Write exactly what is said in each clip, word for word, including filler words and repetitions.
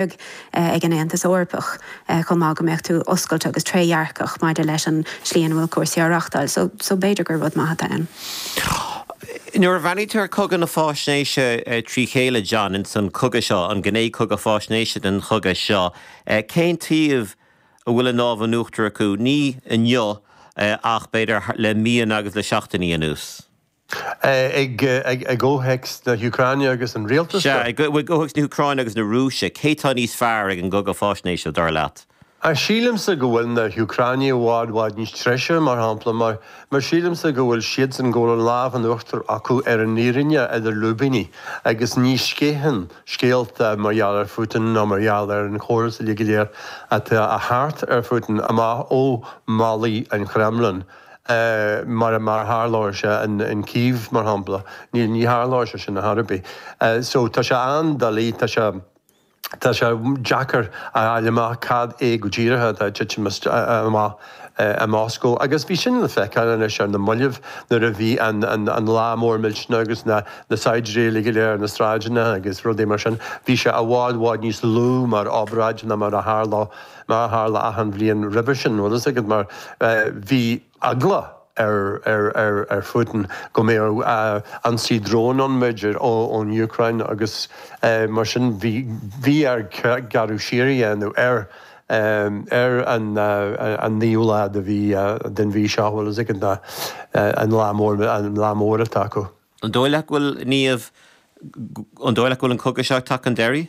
ag an Aontas Eorpach chomh maith go mbeadh tú oscailte agus trédhearcach maidir leis an slí ina bhfuil cúrsaí á reáchtáil, so so b'fhéidir gur rud maith atá ann. Nuair a bhreathnaítear cogadh na faisnéise trí chéile John in san cogadh seo an gné cogadh faisnéise den chogadh seo, cén taobh a bhfuil an lámh in uachtar acu ní inniu ach b'fhéidir le míonna agus le seachtainí anuas. ag gcomhthéacs na hÚcráine agus an rialtas. Sea, i gcomhthéacs na hÚcráine agus na Rúise, cé tá níos fearr ag an gcogadh faisnéise dar leat? A sílimse go bhfuil na hÚcránaigh i bhfad bhfad níos treise mar shampla mar mar sílimse go bhfuil siad san go bhfuil an lámh in uachtar acu ar an fhírinne idir lúibíní agus ní sceitheann scéalta mar gheall ar Putin nó mar gheall ar an chóras uilig go léir atá a thart ar Putin amach ó bhallaí an Kremlin. Uh, mar mar tharlódh sé in, in Kiev mar shampla ní ní tharlódh sé sin ar bith. Uh, so tá sé an-doiligh tá sé Tá sé deacair a fháil amach cad é go díreach atá titim amach i Moscow. agus bhí sin le feiceáil anois ar na mallaibh nuair a bhí an, an, an lá mór millteanach agus na, na saighdiúirí go léir na sráideanna agus rudaí mar sin. Bhí sé i bhfad bhfad níos lú mar obráid ná mar a tharla mar a tharla achan bhliain roimhe sin bhfuil a fhios agat mar uh, bhí eagla ar ar ar ar Putin go mbeadh uh, ionsaí drón ann b'fhéidir ón Úcráin agus uh, mar sin bhí bhí air gearradh siar a dhéanamh ar um, ar an uh, an naoú lá de bhí uh, den mhí seo bhfuil a fhios agat an lá mór an lá mór atá acu. An dóigh leat go bhfuil Niamh an dóigh leat go bhfuil an cogadh seo tagtha chun deiridh?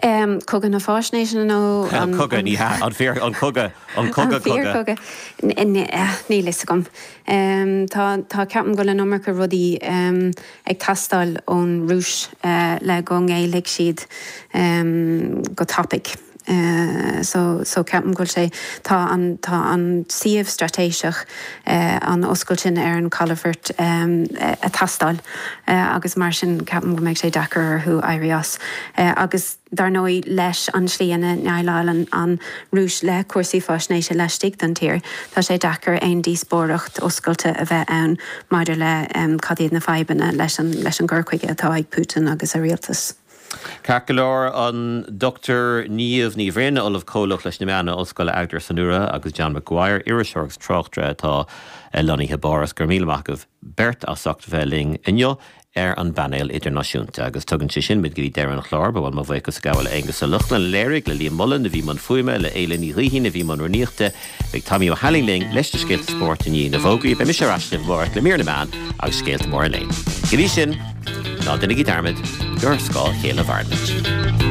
Um, cogadh na faisnéise nó cogadh ní an fíor an cogadh an cogadh cogadh níl a fhios agam. Um, tá tá ceapaim go bhfuil an iomarca rudaí um, ag teastáil ón Rúis uh, le go ngéillfidh siad um, go tapaidh. Uh, so so ceapaim go bhfuil sé tá an tá an suíomh straitéiseach uh, an oscailt sin ar an calafort um, ag teastáil uh, agus mar sin ceapaim go mbeidh sé deacair orthu éirí as uh, agus dar ndóigh leis an slí ina ndéileálann an Rúis le cúrsaí faisnéise laistigh den tír, Tá sé deacair aon díospóireacht oscailte a bheith ann maidir le um, cad iad na fadhbanna leis an leis an gcur chuige atá ag Putin agus a rialtas. Ceart go leor an Dr Niamh Ní Bhrain Ollamh Comhlach leis na Meáin Ollscoil Agder Sanúra agus John Maguire iriseoir agus tráchtaire atá lonnaithe i bPáras go raibh míle maith agaibh beirt as ucht bheith linn inniu ar an bpainéal idirnáisiúnta agus tugann sé sin muid go dtí deireadh an chláir ba mo bhuíochas a ghabháil le Aengus Ó Lochlainn a léirigh le Liam Mullen a bhí i mbun fuaime le Éile Ní Ghaoithín a bhí i mbun rúnaíochta beidh Tommy Ó hAilín linn leis na scéalta spóirt i ndiaidh na bhfógraí beidh mise ar ais amárach le mír na meán agus scéalta móra an lae. Go dtí sin ná déanaigí dearmad gur ar scáth a chéile a mhairimid.